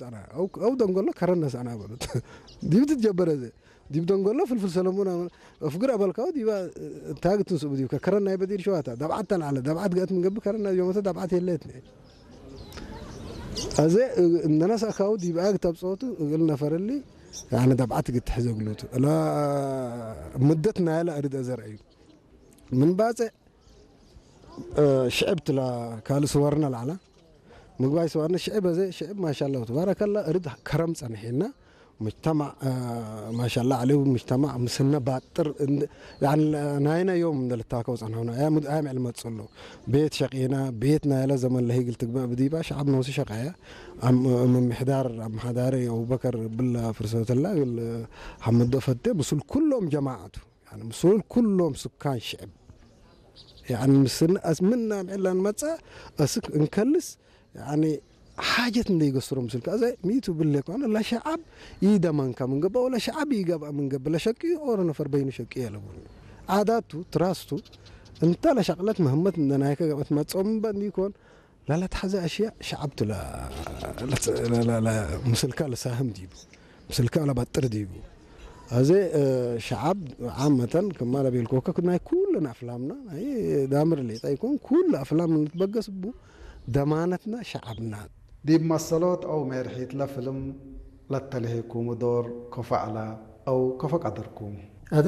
ጻና ኣው ኣው ደንጎሎ ከረን ነሳና በሉት። ዲብ ትጀበረ ዘ ዲብ ደንጎሎ ፍልፍል ሰለሙን ኣፍግር ኣበልካው ዲባ ታግትን ስቡ ዲብ ከረን ናይ በዲር ሸዋታ ዳብዓት ተልዓለ ዳብዓት ገእት ምንገብ ከረን ናይ ዮመተ ዳብዓት የለት። ኣዘ እነናስ ኣካው ዲብ ኣግ ታብ ጸወቱ እግል ነፈረሊ ያነ ዳብዓት ግትሕ ዘግሉት እላ ምደት ናያለ ኣርድ ኣዘር እዩ። ምን ባጸ ሽዕብ ትላ ካልእ ስዋርና ላዕላ ምግባይ ስዋርና ሽዕብ ኣዘ ሽዕብ ማሻላ ተባረከላ ርድ ከረም ጸንሒና። مجتمع ማሻላ عليه مجتمع ምስነ ባጥር ናይና ዮም እንደልታከው ጸንሖና። ኣያ ምዕል መጽሎ ቤት ሸቂና ቤት ናይለ ዘመን ለሂግል ትግባእ ብዲባ ሸዓብ ነውሲ ሸቃያ ምምሕዳር ኣምሓዳሪ ኣቡበከር ብላ ፍርሰተላ ግል ሓመዶ ፈቴ ምስል ኩሎም ጀማዓቱ ምስል ኩሎም ስካን ሽዕብ ምስና ምዕላ ንመጻ እስክ እንከልስ ሓጀት እንደይገስሮ ምስልካ እዘ ሚቱ ብለ ኮነ ለሸዓብ ይደመንካ ምንገባ ወለ ሸዓብ ይገብኣ ምንገባ ለሸቂ ኦሮ ነፈር በይኑ ሸቂ የለቡን ዓዳቱ ትራስቱ እንተ ለሸቅለት መህመት እንደናይከ ገበት መጾም በንዲኮን ላላ ተሓዘ ኣሽያ ሸዓብቱ ምስልካ ለሳህም ዲቡ ምስልካ ለባጥር ዲቡ ኣዘ ሸዓብ ዓመተን ከማ ለቤልኮከ ናይ ኩለን ኣፍላምና ናይ ዳምር ሌጣ ይኮን ኩሉ ኣፍላም ንትበገስ ቡ ደማነትና ሸዓብና ዲብ መሰሎት ኦው ሜርሒት ለፍልም ለተልሄኩሙ ዶር ከፎ ዐላ ኦው ከፎ ቀደርኩም። ኣደ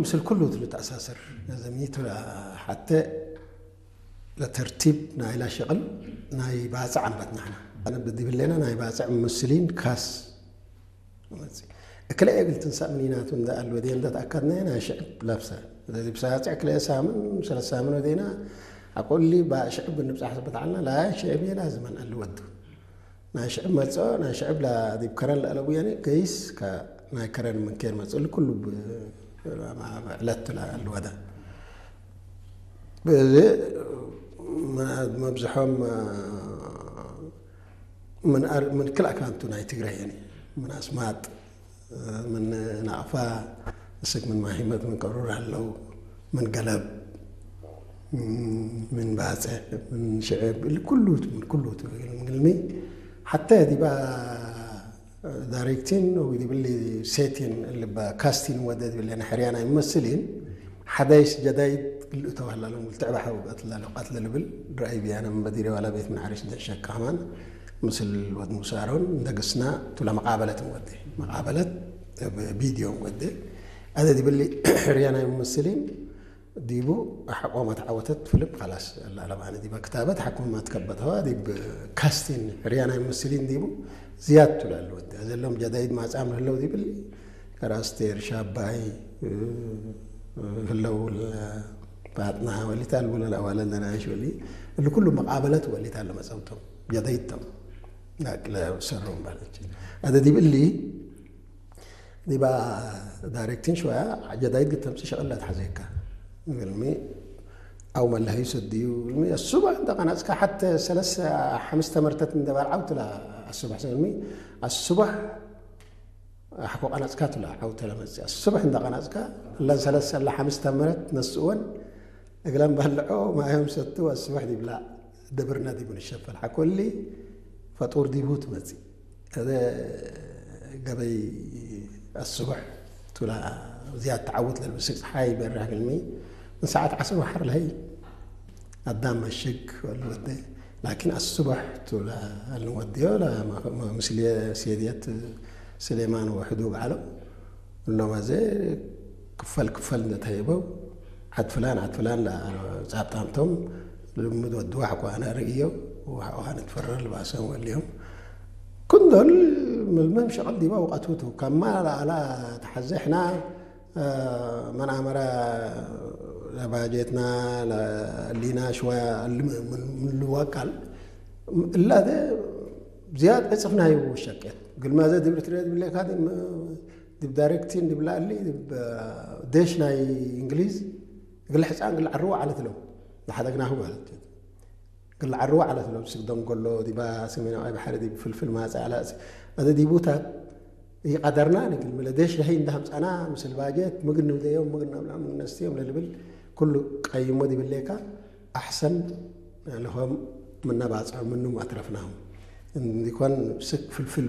ምስል ኩሉ እት ልትኣሳሰር ዘሚቱ ሓተ ለተርቲብ ናይላ ሸቕል ናይ ባጽዕ ኣንበት ናሕና። ኣነ ብዲብሌና ናይ ባጽዕ ምስሊን ካስ እክለ እግል ትንሳእ ምኒናቱ እንደ ኣልወዴ እንደ ተኣከድናየ ናይ ሽዕብ ለብሰ ስለዚ ብሳጽዕ ክልኤ ሳምን ሰለስተ ሳምን ወዴና ኣቆሊ ባእ ሽዕብ ብንብጻሕ ስበት ዓልና ላያ ሽዕብ የላ ዝመን ኣልወዱ ናይ ሽዕብ መጽኦ ናይ ሽዕብ ላ ዲብ ከረን ለኣለቡ የኔ ገይስ ናይ ከረን ምንኬን መጽእ ልኩሉ ዕለት ላ ኣልወዳ በዚ መብዝሖም ምን ክልኣካንቱ ናይ ትግራይ የኔ ምን ኣስማጥ ምን ናቕፋ እስክ ምን ማሂመት ምን ቀሩር ኣለው ምን ገለብ ምን ባጽዕ ምን ሽዕብ ኩሉ ምን ኩሉ ትግልሚ ሓታ ዲባ ዳይሬክቲን ወይ ዲብሊ ሴቲን ልባ ካስቲን ወደ ዲብሊ ሕርያና ይመስልን ሓዳይስ ጀዳይድ ግልእ ተባህላሎም ልትዕባ ሓው ቀትላ ለቃት ለልብል ራእይ ቢያነ መበዲሪ ዋላ ቤት ምን ዓሪሽ ደሸካ ከማን ምስል ወድ ሙሳሮን እንደግስና ቱላ መቃበለት ወደ መቃበለት ቪዲዮ ወደ ኣደ ዲብሊ ሕርያና ይመስልን ዲቡ ሓቆማ ተዓወተት ፍልም ላስ ኣላለም ኣነ ዲባ ክታበት ሓቆማ ትከበተዋ ዲብ ካስቲን ሕርያና ይመስልን ዲቡ ዝያድ ቱላ ኣለወት ዘለዎም ጀዳይድ ማጻም ህለው ዲብል ከራስቴር ሻባይ ህለው ፋጥና ወሊታ ልቡለ ኣዋለ ለናሽ ወሊ እሊ ኩሉ መቃበለት ወሊታ ለመጸውቶም ጀዳይቶም ናቅለ ሰሮም ባለች ኣደ ዲብሊ ዲባ ዳይሬክቲን ሽወያ ጀዳይት ግተምፂ ሸቕላ ትሓዘካ ግልሚ ኣው መላሃዩ ሰድዩ ግልሚ ኣሱባ እንተ ቀናፅካ ሓተ ሰለስተ ሓምስተ መርተት እንደባል ዓውትላ ኣሱባሕ ሰግልሚ ኣሱባሕ ኣሕኮ ቀናፅካ ትላ ዓውተላ መፅእ ኣሱባሕ እንተ ቀናፅካ እለን ሰለስተ ኣላ ሓምስተ መረት ነስእወን እግለን ባልዖ ማዮም ሰቱ ኣሱባሕ ዲብላ ደብርና ዲቡ ንሸፈል ሓኮሊ ፈጡር ዲቡ ትመፅእ ገበይ ኣስቡሕ ቱላ ዝያድ ተዓውት ለልብስግ ፀሓይ በርሕ ግልሚ ንሰዓት ዓስር ወሓር ለሀይ ኣዳም መሽግ ወሉ ወደ ላኪን ኣስቡሕ ቱላ ኣልን ወድዮ ምስል ሴድየት ስሌማን ወሕዱ በዓሎ እሎም ኣዘ ክፈል ክፈል እንደተሂበው ዓድ ፍላን ዓድ ፍላን ጻብጣምቶም ልምድ ወድዋ ሓቋነ ርእዮ ውሃ ንትፈረር ልባሰን ወሊዮም ክንዶል ምልምም ሸቕል ዲባ ውቐቱቱ ከማ ለኣላ ተሓዘሕና መናመራ ለባጀትና ሊና ሽዋ ምልዋቃል እላተ ዝያድ ዕፅፍናዩ ሸቅየት ግልማዘ ድብሪ ትሪኦ ዝብለካ ዲብ ዳይሬክቲን ዲብ ላእሊ ዲብ ዴሽ ናይ እንግሊዝ እግል ሕፃን እግል ዓርዎ ዓለት ለው ዝሓደግናሁ ማለት እዩ። እግል ዓርዎ ዓለት ለው ስግደም ጎሎ ዲባ ሰሜናዊ ባሕሪ ዲብ ፍልፍል ማፀ ዓላ እዚ ዲቡታት ይቀደርና ንግል ምለ ዴሽ ለሀይ እንዳሃምፃና ምስል ባጀት ምግን ንብደዮም ምግን ናብላ ምግን ነስትዮም ለልብል ኩሉ ቀይሞ ዲብሌካ ኣሕሰን ለሆም ምናባፅዖ ምኑም ኣትረፍናሁም እንዲኳን ስክ ፍልፍል